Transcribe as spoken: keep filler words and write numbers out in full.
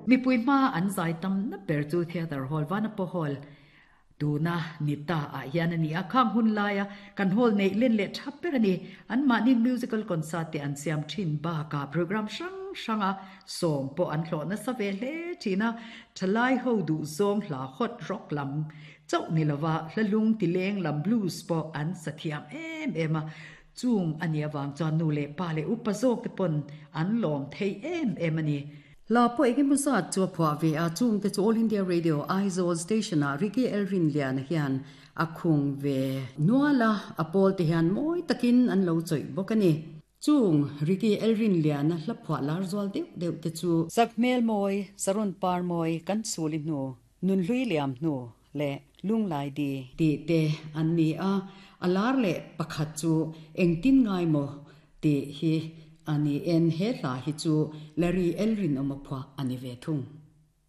Mipui hmaa an zai tamna ber chu Theatre Hall, Vanapaw Hall tuna ni ta ah hian a ni a, khang hun laia kan hall neih len leh tha ber a ni. Anmahni musical concert te an siam thin bakah program hrang hranga sawm pawh an hlawh nasa ve hle thin a, thalai ho duhzawng hla hot rock lam chauh ni lova hla lung ti leng lam blues pawh an sa thiam em em a, chung a nih avang chuan nu leh pa leh upa zawk te pawn an lawm thei em em a ni. Hla pawh engemaw zat chu a phuah ve a, chungte chu All India Radio Aizawl Station-ah Ricky Elrinliana hian a khung ve nual a, a pawl te hian mawi takin an lo chawih bawk a ni. Chung Ricky Elrinliana hla phuah lar zual deuh deuh te chu. Sakhmel mawi, Saron par mawi, kan sul i hnu, Nunhlui liam hnu leh Lunglai di. Tih te an ni a, a lar leh pakhat chu engtin ngai maw tih hi a ni en, he hla hi chu Larry Elrinawma phuah a ni ve thung.